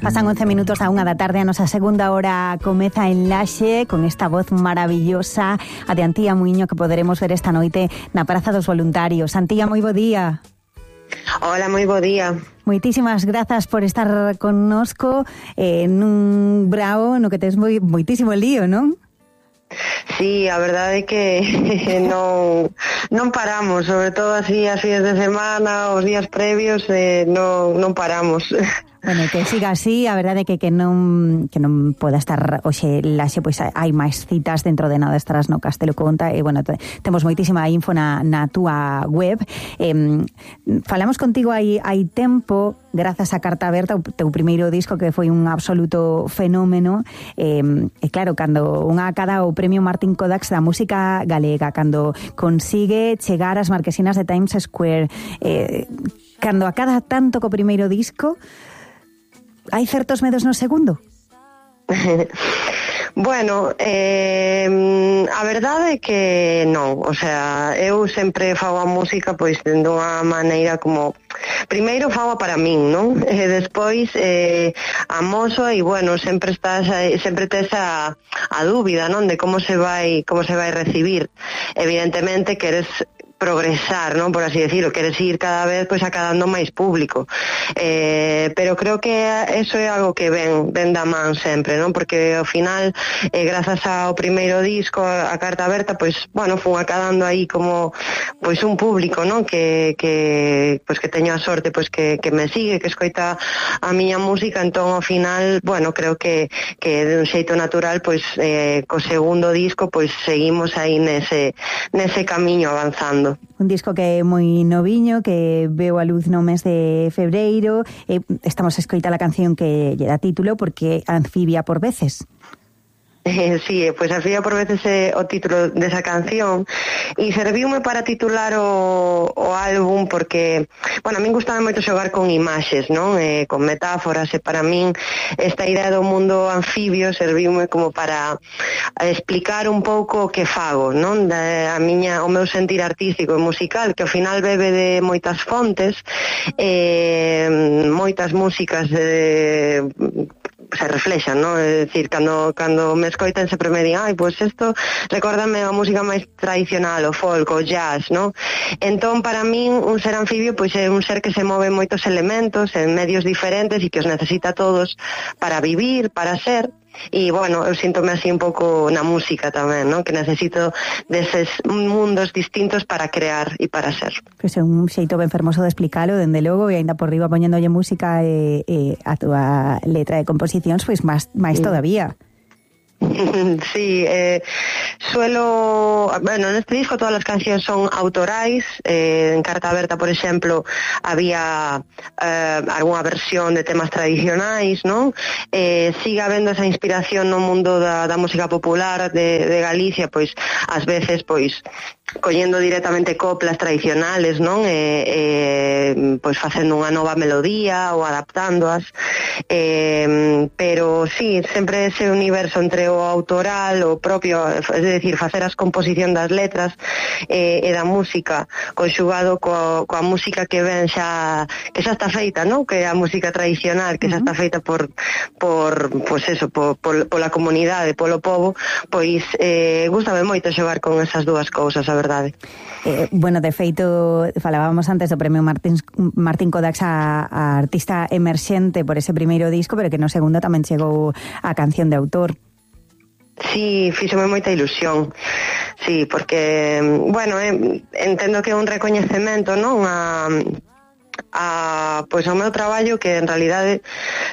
Pasan 11 minutos a 1 da tarde, a nosa segunda hora comeza en Laxe con esta voz maravillosa a de Antía Muiño que poderemos ver esta noite na Praza dos Voluntarios. Antía, moi bo día. Hola, moi bo día. Moitísimas grazas por estar connosco nun brao no que tes moitísimo lío, non? Sí, a verdade é que non paramos, sobre todo así as días de semana, os días previos, non paramos. Bueno, que siga así, a verdade é que non poda estar hoxe Laxe, pois hai máis citas dentro de nada, estarás no Castelo Conta e, bueno, temos moitísima info na túa web. Falamos contigo hai tempo, grazas a Carta Aberta, o teu primeiro disco que foi un absoluto fenómeno, e claro, cando unha acada o Premio Martín Kodax da música galega, cando consigue chegar ás marquesinas de Times Square, cando acada tanto co primeiro disco, hai certos medos no segundo? Bueno, a verdade é que non, o sea, eu sempre fago a música pois de unha maneira como primeiro fago para min, non? E despois amoso e bueno, sempre tes a dúbida, non? De como se vai recibir. Evidentemente queres progresar, non, por así decirlo, queres ir cada vez pois acadando máis público, pero creo que eso é algo que ven da man sempre, non, porque ao final grazas ao primeiro disco, a Carta Aberta, pois, bueno, fun acadando aí como pois un público, non, que pois que teño a sorte pois que me sigue, que escoita a miña música, entón ao final, bueno, creo que de un xeito natural, pois co segundo disco, pois seguimos aí nese camiño avanzando. Un disco que é moi noviño, que veo a luz no mes de febreiro. Estamos a escoitar a canción que lle dá título, porque Anfibia por veces. Sí, pois Anfibia por veces é o título desa canción e serviume para titular o álbum porque, bueno, a min gustaba moito xogar con imaxes, non? Con metáforas, e para min esta idea do mundo anfibio serviume como para explicar un pouco o que fago, non? O meu sentir artístico e musical, que ao final bebe de moitas fontes, moitas músicas se reflexan, non? É dicir, cando me escoitan sempre me din, pois isto recórdame a música máis tradicional, o folk, o jazz, non? Entón, para min, un ser anfibio pois é un ser que se move en moitos elementos, en medios diferentes e que os necesita todos para vivir, para ser. E, bueno, eu síntome así un pouco na música tamén, non? Que necesito deses mundos distintos para crear e para ser. Pois é un xeito ben fermoso de explicalo, dende logo, e ainda por riba poñéndolle música e a túa letra de composicións, pois máis todavía. Sí, neste disco todas as cancións son autorais. En Carta Aberta, por exemplo, había algunha versión de temas tradicionais, non? Sigue habendo esa inspiración no mundo da música popular de Galicia, pois ás veces pois collendo directamente coplas tradicionales, non? Pois facendo unha nova melodía ou adaptándoas, pero sí, sempre ese universo entre o autoral, o propio, é dicir, facer as composicións das letras e da música conxugado coa música que ven xa está feita, non? Que é a música tradicional, que xa está feita por pois eso, pola comunidade, polo povo, pois gústame moito xogar con esas dúas cousas, a verdade. Bueno, de feito, falábamos antes do Premio Martín Kodax a artista emerxente por ese primeiro disco, pero que no segundo tamén chegou a canción de autor. Sí, fíxome moita ilusión. Sí, porque, bueno, entendo que é un recoñecemento, non? Pois ao meu traballo, que en realidade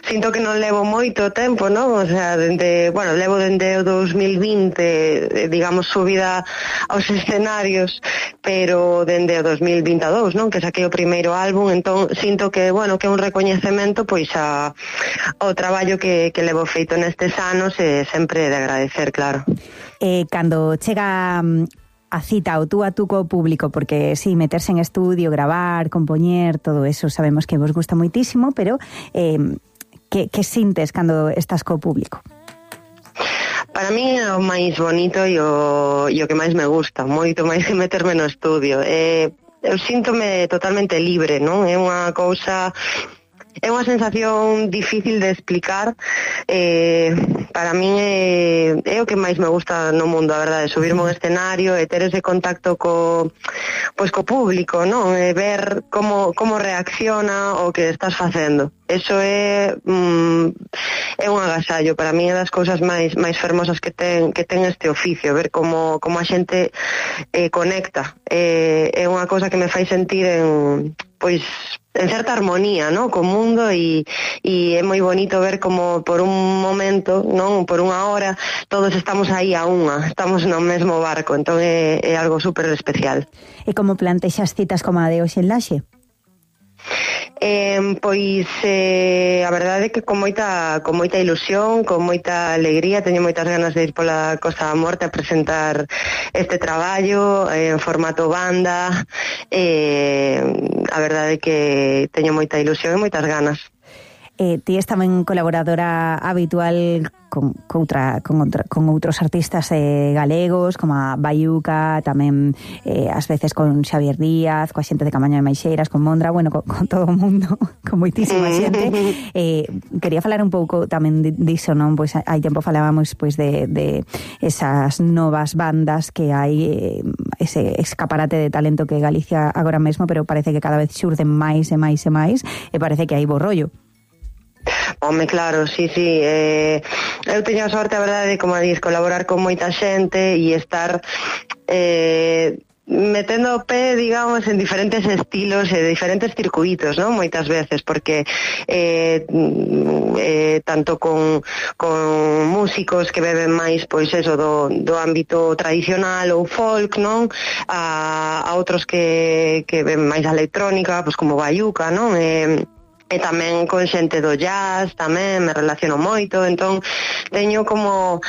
sinto que non levo moito tempo, non? O sea, levo dende o 2020, digamos, subida aos escenarios, pero dende o 2022, non? Que saquei o primeiro álbum, entón sinto que, bueno, que é un recoñecemento pois ao traballo que levo feito nestes anos, e sempre de agradecer, claro. Cando chega a cita o tú a tú co público, porque sí, meterse en estudio, gravar, compoñer, todo eso sabemos que vos gusta moitísimo, pero que sintes cando estás co público? Para mí é o máis bonito e o que máis me gusta, moito máis que meterme no estudio. Eu síntome totalmente libre, non? É unha cousa É unha sensación difícil de explicar. Para min é o que máis me gusta no mundo, a verdade, subirme ao escenario e ter ese contacto co público, non? E ver como reacciona o que estás facendo. Eso é un agasallo. Para min é das cousas máis fermosas que ten este oficio, ver como a xente conecta. É unha cousa que me fai sentir en certa armonía, ¿no?, co mundo, e é moi bonito ver como por un momento, non, por unha hora, todos estamos aí a unha, estamos no mesmo barco, entón é algo super especial. E como plantexas citas como a de hoxe en Laxe? A verdade é que con moita ilusión, con moita alegría, teño moitas ganas de ir pola Costa da Morte a presentar este traballo en formato banda. A verdade é que teño moita ilusión e moitas ganas. Ti és tamén colaboradora habitual con outros artistas galegos, como a Bayuca, tamén ás veces con Xavier Díaz, coa xente de Camaño de Maixeiras, con Mondra, bueno, con todo o mundo, con moitísima xente. Quería falar un pouco tamén diso, non? Pois hai tempo falábamos de esas novas bandas que hai, ese escaparate de talento que Galicia agora mesmo, pero parece que cada vez xurden máis e máis e máis, e parece que hai bo rollo. Home, claro, sí. Eu teño a sorte, a verdade, como a dis, colaborar con moita xente e estar metendo o pé, digamos, en diferentes estilos e diferentes circuitos, non? Moitas veces, porque tanto con músicos que beben máis, pois eso, do ámbito tradicional ou folk, non? A outros que beben máis electrónica, pois como Bayuca, non? E tamén con xente do jazz, tamén me relaciono moito, entón teño como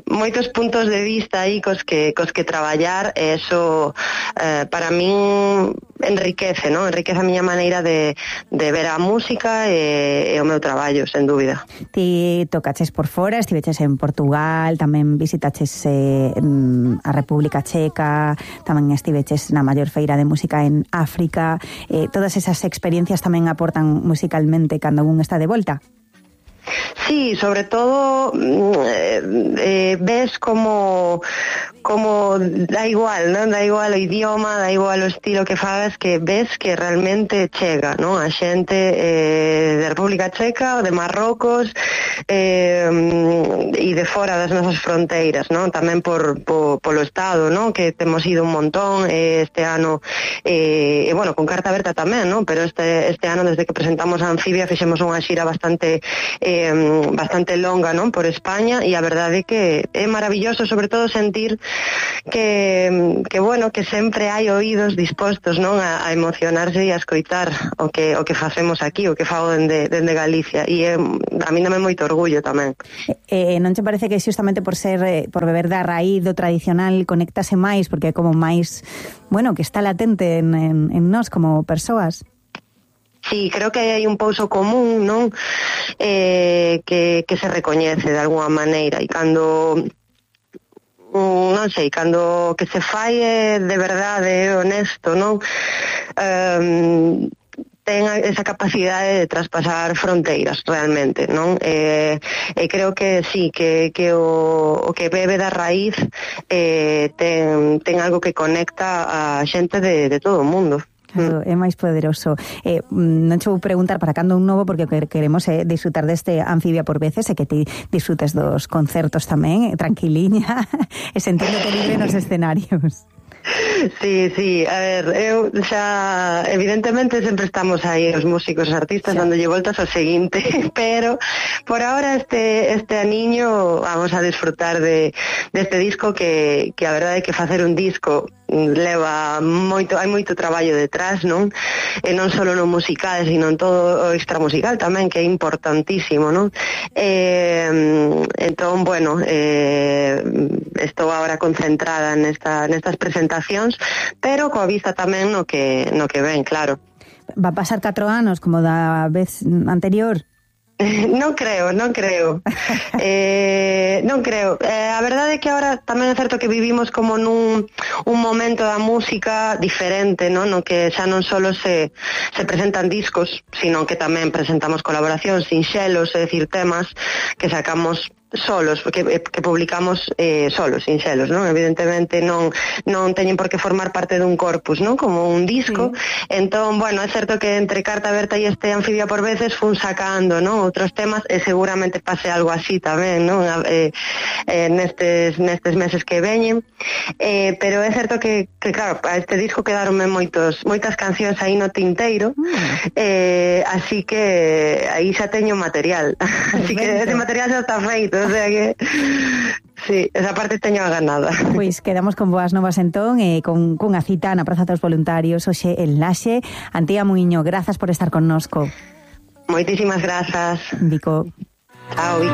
moitos puntos de vista aí cos que traballar, e eso para min enriquece, non? Enriquece a miña maneira de ver a música e o meu traballo, sen dúbida. Ti tocaches por fora, estiveches en Portugal, tamén visitaches a República Checa, tamén estiveches na maior feira de música en África. Todas esas experiencias tamén aportan musicalmente cando un está de volta? Sí, sobre todo ves como da igual, non? Da igual o idioma, da igual o estilo que fagas, que ves que realmente chega, non? A xente de República Checa ou de Marrocos e de fora das nosas fronteiras, non? Tamén polo Estado, non? Que temos ido un montón este ano, bueno, con Carta Aberta tamén, non? Pero este ano, desde que presentamos a Anfibia, fixemos unha xira bastante longa, non? Por España, e a verdade é que é maravilloso, sobre todo sentir que bueno, que sempre hai oídos dispostos, non? A emocionarse e a escoitar o que facemos aquí, o que fago dende Galicia, e a mí dame moito orgullo tamén. Non te parece que xustamente por beber da raíz do tradicional conectase máis, porque é como máis, bueno, que está latente en nós como persoas? Sí, creo que hai un pouso común, non? Que se recoñece de alguma maneira, e cando non sei, cando que se fai de verdade, honesto, non? Ten esa capacidade de traspasar fronteiras realmente, non? E creo que sí, que o que bebe da raíz ten algo que conecta a xente de todo o mundo. Claro, é máis poderoso. Non che vou preguntar para cando un novo, porque queremos disfrutar deste Anfibia por veces, e que ti disfrutes dos concertos tamén, tranquiliña, e sentiéndote libre nos escenarios. Sí, a ver, eu xa evidentemente sempre estamos aí os músicos, os artistas, dándolle voltas ao seguinte, pero por ahora este aniño vamos a disfrutar deste disco que a verdade é que facer un disco leva moito, hai moito traballo detrás, non? E non só no musical, sino en todo o extramusical tamén, que é importantísimo, non? Entón, bueno, estou agora concentrada nestas presentacións, pero coa vista tamén no que ven, claro. Va a pasar 4 anos como da vez anterior? Non creo. Non creo. A verdade é que agora tamén é certo que vivimos como nun un momento da música diferente, non? No que xa non só se presentan discos, sino que tamén presentamos colaboracións sinxelos, é dicir, temas que sacamos solos, que publicamos solos, sinxelos, non? Evidentemente non teñen por que formar parte dun corpus, non? Como un disco. Entón, bueno, é certo que entre Carta Aberta e este Anfibia por veces fun sacando, non? Outros temas, e seguramente pase algo así tamén, non? Nestes meses que veñen. Pero é certo que claro, a este disco quedaronme moitas cancións aí no tinteiro, así que aí xa teño material. Así que ese material xa está feito. O sea que, sí, esa parte teño ganada. Pois quedamos con boas novas entón, con a cita na Praza dos Voluntarios hoxe en Laxe. Antía Muiño, grazas por estar connosco. Moitísimas grazas. Vico. Chao, Vico.